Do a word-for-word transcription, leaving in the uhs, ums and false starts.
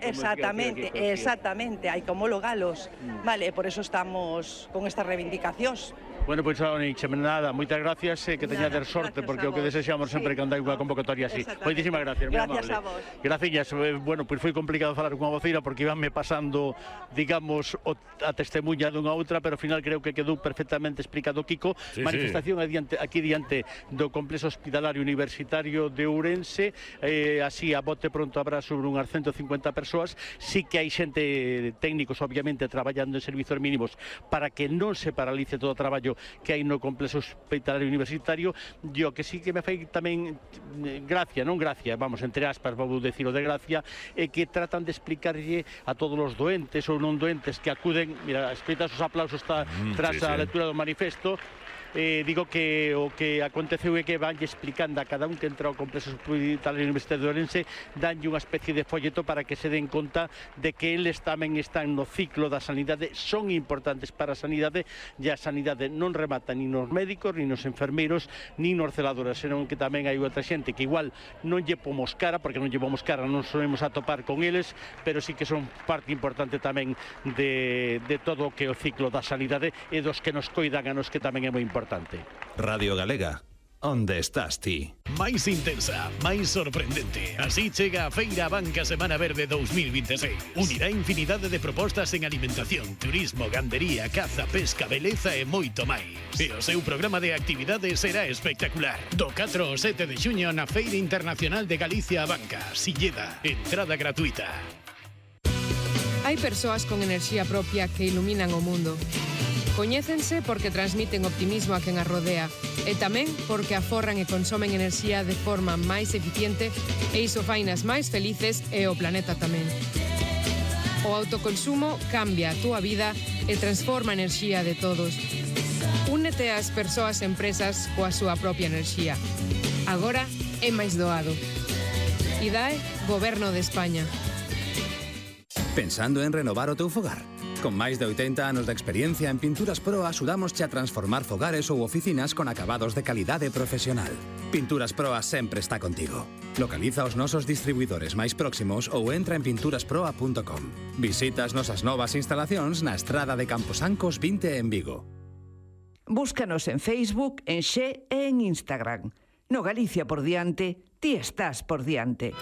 Exactamente, exactamente, hai que homologalos, vale, por eso estamos con estas reivindicacións. Bueno, pois pues, nada, moitas gracias e eh, que teñades sorte, porque o que desexamos sempre sí. Cando hai unha convocatoria así. Moitísimas gracias, moi amable. Gracias a vos. Graciñas, eh, bueno, pois pues foi complicado falar cunha voceira porque ibanme pasando, digamos, o, a testemunha dunha outra, pero ao final creo que quedou perfectamente explicado Kiko. Sí, manifestación sí. Adiante, aquí diante do Complexo Hospitalario Universitario de Ourense, eh, así a bote pronto habrá sobre unhas ciento cincuenta persoas. Sí que hai xente, técnicos obviamente traballando en servizos mínimos para que non se paralice todo o traballo que hai no Complexo Hospitalario Universitario. Yo que sí que me fai tamén gracia, non gracia, vamos, entre aspas, vou decir o de gracia, é que tratan de explicarlle a todos os doentes ou non doentes que acuden, mira, escoitas os aplausos está mm, tras sí, a sí. lectura do manifesto. Eh, digo que o que aconteceu é que vanlle explicando a cada un que entra ao Complexo Hospitalario Universitario de Ourense, danlle unha especie de folleto para que se den conta de que eles tamén están no ciclo da sanidade, son importantes para a sanidade, e a sanidade non remata nin nos médicos, nin nos enfermeiros, nin nos celadores, senón que tamén hai outra xente que igual non lle pomos cara, porque non lle pomos cara, non solemos atopar con eles, pero sí que son parte importante tamén de, de todo o que é o ciclo da sanidade e dos que nos coidan a nos, que tamén é moi importante. Radio Galega, onde estás ti? Máis intensa, máis sorprendente. Así chega a Feira Banca Semana Verde dos mil veintiséis. Unirá infinidade de propostas en alimentación, turismo, gandería, caza, pesca, beleza e moito máis. E o seu programa de actividades será espectacular. Do catro ao sete de xuño na Feira Internacional de Galicia a Banca, Silleda, entrada gratuita. Hai persoas con enerxía propia que iluminan o mundo. Coñécense porque transmiten optimismo a quen as rodea e tamén porque aforran e consomen enerxía de forma máis eficiente e iso fainas máis felices e o planeta tamén. O autoconsumo cambia a túa vida e transforma a enerxía de todos. Únete ás persoas e empresas coa súa propia enerxía. Agora é máis doado. I D A E, Goberno de España. Pensando en renovar o teu fogar? Con máis de oitenta anos de experiencia en Pinturas Proa, axudámosche a transformar fogares ou oficinas con acabados de calidade profesional. Pinturas Proa sempre está contigo. Localiza os nosos distribuidores máis próximos ou entra en pinturas proa punto com. Visita as nosas novas instalacións na estrada de Camposancos vinte en Vigo. Búscanos en Facebook, en Xe e en Instagram. No Galicia por diante, ti estás por diante.